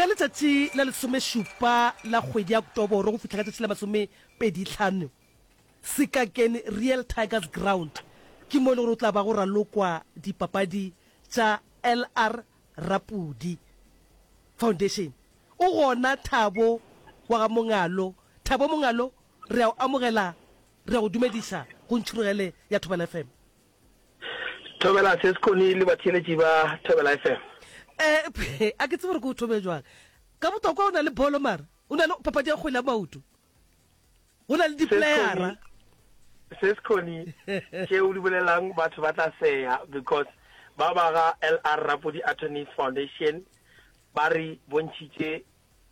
Ka letšatši la lesomešupa la kgwedi ya Oktoboro go fihla ka tšatši la masomepedihlano, Sekakeng Real Tigers Ground ke mo e le gore o tla ba go ralokwa dipapadi tša LR Rapudi Foundation. O gona Thabo wa ga Mongalo. Thabo Mongalo, re a o amogela, re a go dumediša go Ntšhurugele ya Thobela FM. Thobela Sis Connie le batheeletši ba Thobela FM. Eh, a ke tsebe gore ke o thome jwang. Ka botokwa o na le bolo mara, o na le papadi ya kgwele ya maoto. Go na le diplayera. Sis Connie, tše o di bolelang batho ba tla seya because ba ba ga LR Rapodi Attorneys Foundation ba re bontšhitše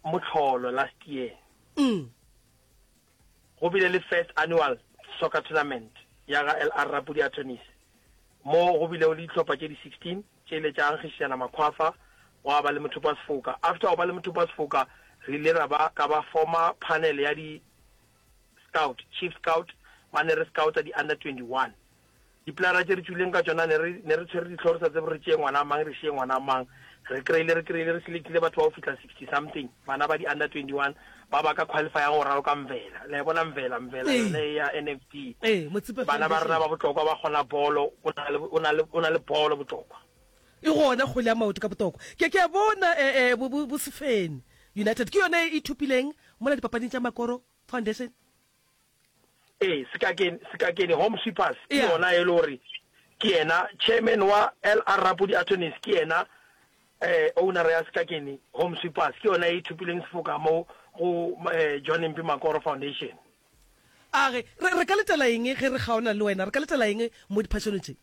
mohlolo last year. Mm. Go bile le first annual soccer tournament ya ga LR Rapodi Attorneys mo go bilego le dihlopha tše di 16 tše ile tša ankgišana makhwafa gwa ba le mothopo wa sefoka. After go ba le mothopo wa sefoka re ile ra ba ka ba former panel ya di scout, chief scout, ba ne re scouta di under 21. Dipolara tše re tšwileng ka tšona ne re ne re tshwere dihlogo re sa tsebe re tšee ngwana mang re šie ngwana mang. Re kry-ile re kry-ile re selectile batho ba go fihla 60 something bana ba di under 21 ba ba ka qualifyang go raloka Mvela. Le a e bona Mvela, Mvela Ee. yone e ya NFD. Ee, Motsepe Bana ba rena Foundation. ba Botlokwa ba kgona bolo, o na le o na le o na le bolo Botlokwa. E gona kgwele ya maoto ka Botlokwa. Ke ke a bona eh eh bo bo bo Sefene United ke yone e ithopileng mola dipapading tša Makoro Foundation. Ee, Sekakeni, Sekakeni Home Sweepers ke Yeah. yona e le gore ke yena chairman wa LR Rapodi Attorneys, ke yena eh, owner ya Sekakeni Home Sweepers, ke yona e thopileng sefoka mo go eh, John Mpi Makoro Foundation. A re, re, re ka letela eng ge re kgaona le wena? Re ka letela eng mo diphašanong tše?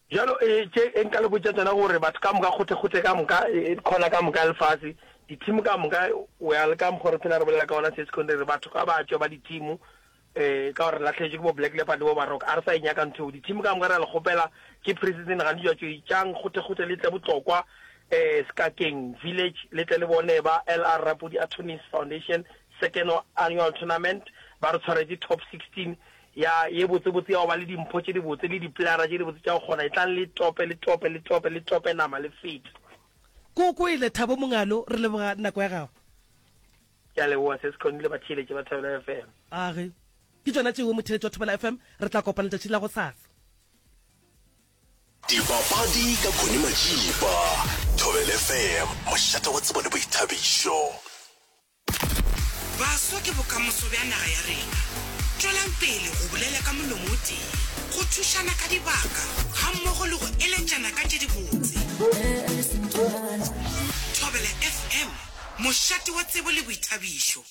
Bjalo, e, tše e nka le botša tšona gore batho ka moka, kgothekgothe ka moka, e, e, khona ka moka ya lefase, dithimo ka moka, o ya le ka mokgwa re phela re bolela ka ona Sescon, re re batho ka ba tšwe ba dithimo, e, ka gore re lahlegetšwe ke bo Black Leopard le bo Baroka, a re sa e nyaka ntho eo. Dithimo ka moka re a le kgopela, ke pre-season gane jwa tšwe, tšang kgothekgothe le tle Botlokwa, e, Sekakeng Village, le tle le bone ba LR Rapodi Attorneys Foundation Second Annual Tournament, ba re tshwaretše Top 16 Ya ye botsebotse ya go ba le dimpho tše dibotse le dipolara tše dibotse tša go kgona. Etlang le tope, le tope, le tope, le tope nama le fete. Ke o kwele, Thabo Mongalo, re leboga nako ya gago. Ke a leboga Sis Connie le batheeletši ba Thobela FM. Age, ke tšona tšeo motheeletši wa Thobela FM, re tla kopana letšatši la gosasa. Dipapadi ka Connie Majiba, Thobela FM, mošate wa tsebo le boithabišo. Baswa ke bokamoso bja naga ya rena. Tšwelang pele go bolela ka molomo o tee, go thušana ka dibaka gammogo le go eletšana ka tše dibotse. Thobela FM, mošate wa tsebo le boithabišo.